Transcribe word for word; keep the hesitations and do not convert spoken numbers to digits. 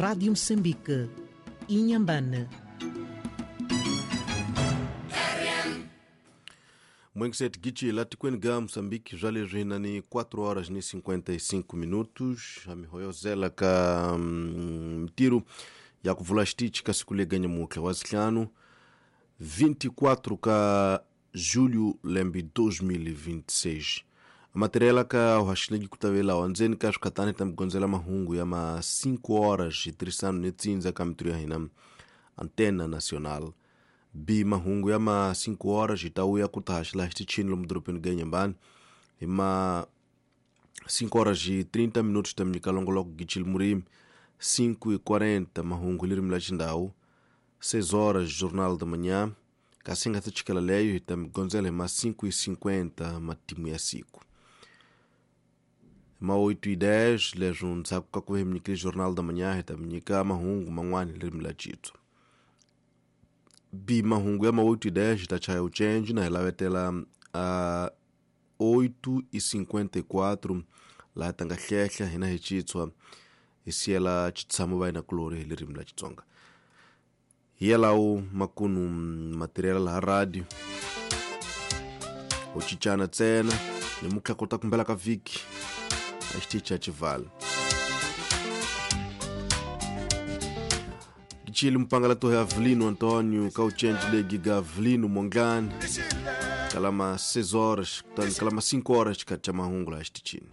Rádio Moçambique, Inhambane. Mwenkiset gichi la tikweni ga Moçambique já lhe ni quatro horas e cinquenta e cinco minutos amihoyozela ka mtiru ya kuvula xitichi ka siku leganya mutlha wa zihlanu vinte e quatro ka julho lembe dois mil e vinte e seis. A materiala ka uhaxilegi kutavela wandzeni ka swikatani ta migondzela mahungu ya ma cinco horas e trisano ni tsindza ka mitiru ya hina Antena Nacional. B mahungu ya ma cinco horas e tauya ku ta haxila xitichini lomu dorobeni ga Inhambane hi ma cinco horas e trinta minutos ta minyika longoloko gichili murimi cinco e quarenta mahungu lirimi la xindhawu seis horas jornal da manhã kasi nga ta chikela leyo hi ta migondzela hi ma cinco e cinquenta matimu ya siku ma oito e dez leswo ndzhaku ka ku hi minyikile jornal da manhã hi ta minyika mahungu man'wana lirimi la xitswa B mahungu ya ma oito e dez ta chaya uchenji na hi lavetela a oito e cinquenta e quatro laha ta nga hlehla hina hi xitswa hi siyela xitshamo va hina kulori hi ririmi la Xitsonga hi yalawo makunu material laha radio ho cincana ntsena ni mutlha kota kumbela ka vhiki a xitichi xa xivala Chile mpangala to Avelino Antônio Cauchenji Legiga Avelino Mongani kalama seis horas kalama cinco horas ka cha mahungu la xitichini.